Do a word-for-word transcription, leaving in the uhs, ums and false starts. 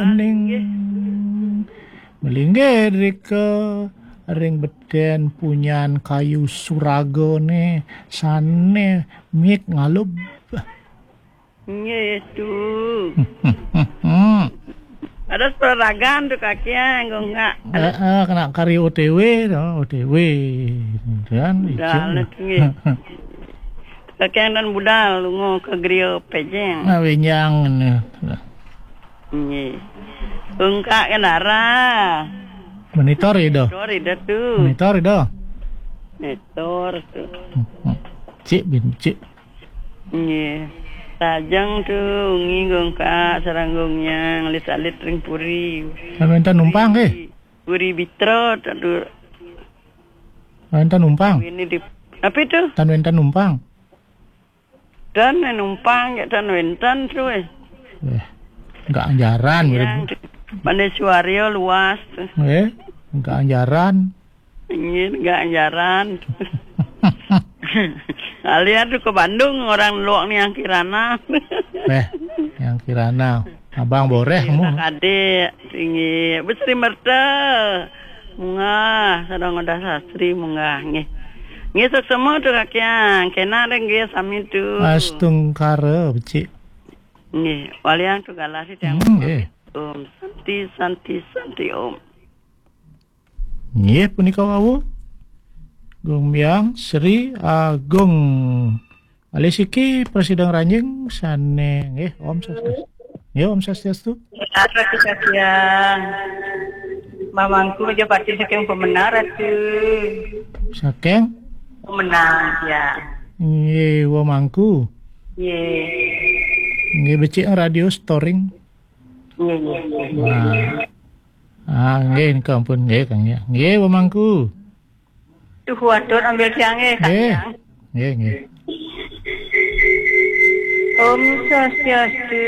Ening melinggih rika ring beten punyan kayu suragane sane mik ngalub. Nggih, Tu. Hmm. Ada seragam Tu, Kaki, ya, nggo enggak. Eh, eh, kena kari O T W to, O T W. Kan Dah, nggih. Kaki dan budal lunga ke geria pejeng. Nah, wenjang ne. Nggih. Engkak ke dara. Monitor ida. Sorry dah Tu. Monitor ida. Netor Tu. Cik bin cik. Nggih. Tajang Tu, ngi nggo engkak sareng nggo nyang alit-alit ring puri. Kan wenten numpang ke? Puri Bitra Tu. Wenten numpang. Ini di apa Tu? Tan wenten numpang. Dan numpang ya dan wenten Tu. Eh. Eh, enggak anjaran. Yang mana suario luas Tu. Eh, enggak anjaran. Nggih, enggak anjaran. Alian Tu ke Bandung, orang luak ni yang Kirana. Eh, yang Kirana. Abang boreh mu. Adik tinggi besri merta. Munggah, sareng udah sastri munggah nggih. Nggih, suksma Tu, Kaki, ya. Kena ring nggih sami Tu. Astungkara becik. Nggih, walian Tu galah si tiang. Hmm, nggih. Om Santi, Santi, Santi Om. Nggih, punika wau. Gung Biang Sri Agung. Alisiki Presiden Ranjing sane nggih, Om Swastiastu. Nggih, Om Swastiastu. Ratu Kasian. Mamangku aja pati saking Pemenang, Ratu. Saking Pemenang, ya. Nggih, wamangku. Nggih. Nggih, becik radio storing. Nggih, nggih, nggih. Nah. Ah, nggih, nika ampun nggih, Kang, ya. Nggih, wamangku. Tuh, watur ambil tiang nggih, Kang. Nggih. Tiang. Nggih, nggih. Om Swastiastu.